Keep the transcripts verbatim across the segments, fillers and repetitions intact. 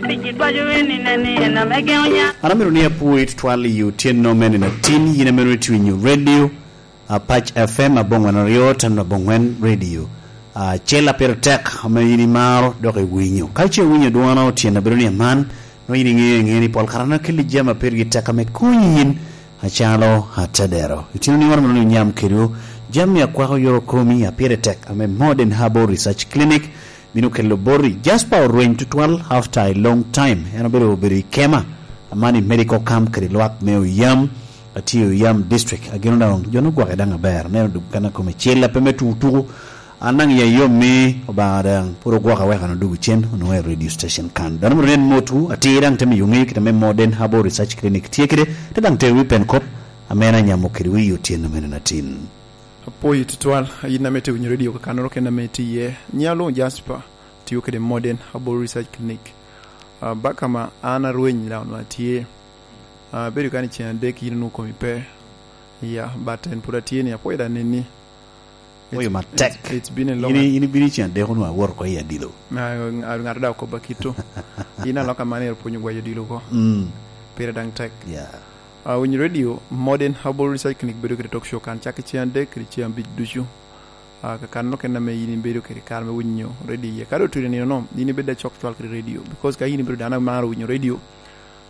Piki dwaco en i neni en ame geŋo nya. An amito ni apwoyi tutwal i otyeno mene na tin, yin amito ni twinyo radio, Apac F M aboŋwen aryo, tano aboŋwen radio. Acel a pire tek ame yin imaro dok iwinyo. Ka ce iwinyo dwona otyeno abedo ni aman, nongo yin iŋeo, iŋeo ni pol kare an akelli jami a pergi tek ame konyi yin acalo atedero. Itino ni wan amito ni onyam kedwu jami akwako yore komi a pire tek ame Modern Herbal Research Clinic bino kelo boti. Jasper orweny tutwal after a long time. En obedo, obedo i kema, aman i medical camp kede lwak me Oyam, atye i Oyam district. Agino daŋ jo nugwake daŋ aber. Neno duk kan akome cel ape me tuku tuku. An daŋ ya yom ni Obaŋa daŋ pwod ogwoka wek an odugu cen, onwoŋo i radio station kan. Dano moro nen motwu, atir daŋ te miyo ŋeyo kit ame Modern Herbal Research Clinic tye kede, te daŋ terowi pen kop ame en anyamo kede wi otyeno mene na tin. Apwoyi tutwal, yin ame itye winyo radio kakannoro kene ame itye iye. Nyiŋa luŋ Jasper, tio kede Modern Herbal Research Clinic. Ah, baka ma an arweny daŋ onwoŋo atye. Ah, abedo kan i ceng adek yin onwoŋo komi pe. Ya, but en pwod atye ni, apwoyo daŋ neni. Apwoyo matek. It's, it's been a long. In, in ibino i ceng adek onwoŋo awot oko i adilo. Ah, ŋato daŋ okobba kito. Yin alok aman ero pwonyo gwayo odilo oko. Mm. Pire daŋ tek. Yeah. Ah, winyo radio, Modern Herbal Research Clinic bedo kede talk show kan cak i ceng adek kede ceng abic ducu. Ah, kakano kene ame yin ibedo kede kare me winyo radio iye. Ka doŋ otudi nino no, yin ibedo acok cwal kede radio, because ka yin ibedo dano amaro winyo radio,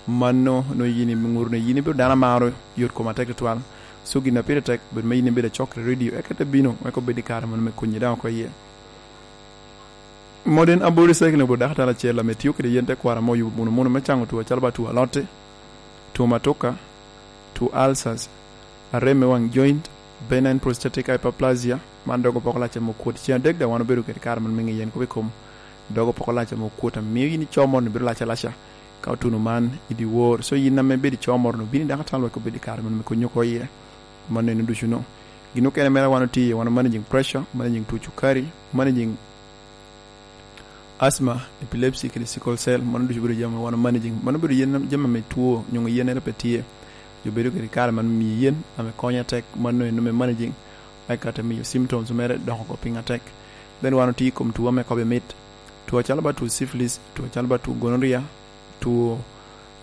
mano nongo yin iŋuto ni yin ibedo dano amaro yot kom atek tutwal. So gin a pire tek, bedo me yin ibedo acok kede radio, eka te bino, eka obed i kare mano me konyi daŋ oko iye. Modern Aboriginal Recycling obedo dakatala acel ame tio kede yen tekwaro ame oyubo muno muno me caŋo two acalo ba two alote, two matuka, two ulcers, arem me waŋ joint, benign prostatic hyperplasia, man dogo poko lac ame okwot. Cen adek daŋ wan obedo kede kare man me ŋiyo yen kop i kom dogo poko lac ame okwot, ame mio yin ico moro ni bedo lac alaca ka otuno man i dyewor. So yin ame bedo ico moro ni, obin i dakatala wek obed i kare man me konyi oko iye. Mano eno ducu no. Gin okene mere wan otye iye, wan managing pressure, managing two cukari, managing asthma, epilepsy, kede sickle cell, mano ducu bedo jami wan managing. Mano bedo yen jami ame two, nyo yen ere pe tye. Jo bedo kede kare man miyo yen ame konyo atek, mano eno me managing. Eka te miyo symptoms mere doko oko piny atek. Then wan otye i kom two ame kobbe mit. Two acalo ba two syphilis, two acalo ba two gonorrhea, two,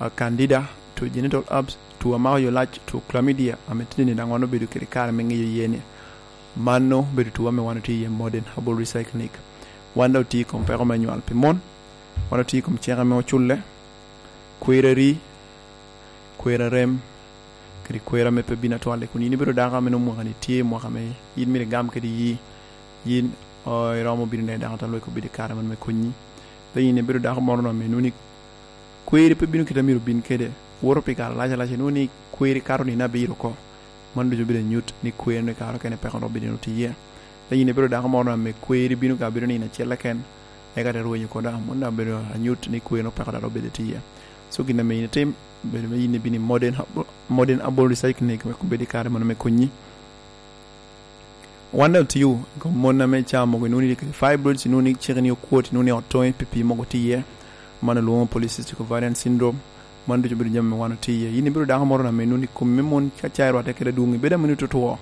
ah, candida, two genital herpes, two amako yo lac, two chlamydia, ame tye ni daŋ wan obedo kede kare me ŋiyo iye ni. Mano obedo two ame wan otye iye Modern Herbal Recycling. Wan daŋ otye i kom peko me nywal pi mon, wan otye i kom ceke me oculle, kwero ari, kwero arem, kede kwero ame pe bino atwal, kun yin ibedo dako ame nwoŋo mwaka ni tye mwaka ame yin myero igam kede yi, yin, o, iromo bino neno dako atwal wek obed i kare man me konyi. Then yin ibedo dako moro no ame nwoŋo ni kweri pe bino kite a myero obin kede, woto pi kare alac alac, inwoŋo ni kweri kato nino abiro oko. Mano ducu bedo anyut ni kweri ni kare okene peko dok obino tye iye. Then yin ibedo dako moro no ame kweri bino ka bedo nino acel keken, eka te rwenyo koda, mano daŋ bedo anyut ni kweri no peko dok obedo tye iye. So gin ame yin itim, bedo me yin ibino i Modern Herbal, Modern Herbal Recycling wek obed i kare mano me konyi. Wan daŋ otio i kom mon ame caa mogo, inwoŋo ni kede fibroids, inwoŋo ni ciki ni okwot, inwoŋo ni ot toŋe, pi pii mogo tye iye. Man olwoŋo polycystic ovarian syndrome. Man ducu bedo jami ame wan otye iye. Yin ibedo dako moro ame inwoŋo ni komi me mon ka caa irwatte kede adwoŋ, ibedo ame nwoŋo tutwo,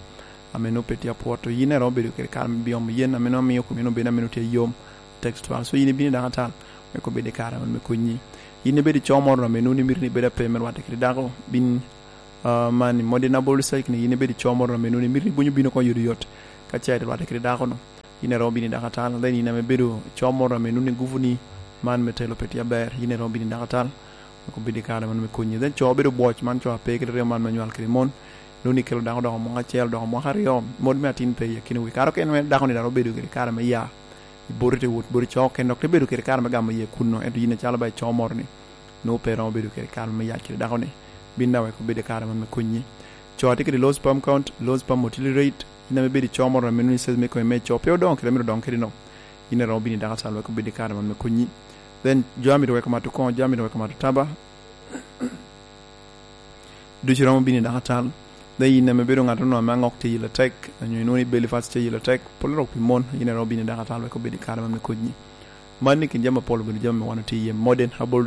ame nwoŋo pe tye apwot. To yin iromo bedo kede kare me biomo yen ame nwoŋo miyo komi nwoŋo bedo ame nwoŋo tye yom, tek tutwal. So yin ibino i dakatala wek obed i kare man me konyi. Yin ibedo i co moro ame nwoŋo ni mito ni ibed ape me rwatte kede dako, bin, ah, man i Modern Herbal Recycling, yin ibedo i co moro ame nwoŋo ni mito ni bwonyo bino oko yot yot ka caa irwatte kede dako-nu. Yin iromo bino i dakatala, then yin ame ibedo i co moro ame nwoŋo ni gupu ni man me telo pe tye aber, yin iromo bino i dakatala wek obed i kare man me konyi. Then co bedo bwoc, man co a pe kede remo man me nywal kede mon, nwoŋo ni kelo dako doko mwaka acel, doko mwaka aryo, mot me atin pe i akinawu. Kare okene mere dako-ni daŋ obedo kede kare me ya, i boti te wot boti co okene, dok te bedo kede kare me gamo iye kunno, ento yin acalo ba i co moro-ni, nwoŋo pe iromo bedo kede kare me yat kede dako-ni. Bin daŋ wek obed i kare man me konyi. Co a tye kede low sperm count, low sperm motility rate, yin ame ibedo i co moro ame nwoŋo ni size me kome me co pe odoŋo kede a myero odoŋ kede-no, yin iromo bino i dakatala wek obed i kare man me konyi. Then jo a myero wek omato koŋo, jo a myero wek omato taba, ducu iromo bino i dakatala. Then yin ame ibedo ŋat-tono ame aŋok tye yelo tek, onyo inwoŋo ni belly fat tye yelo tek, pol rok pi mon, yin iromo bino i dakatala wek obed i kare man me konyi. Man i kin jami apol obedo jami ame wan otye iye Modern Herbal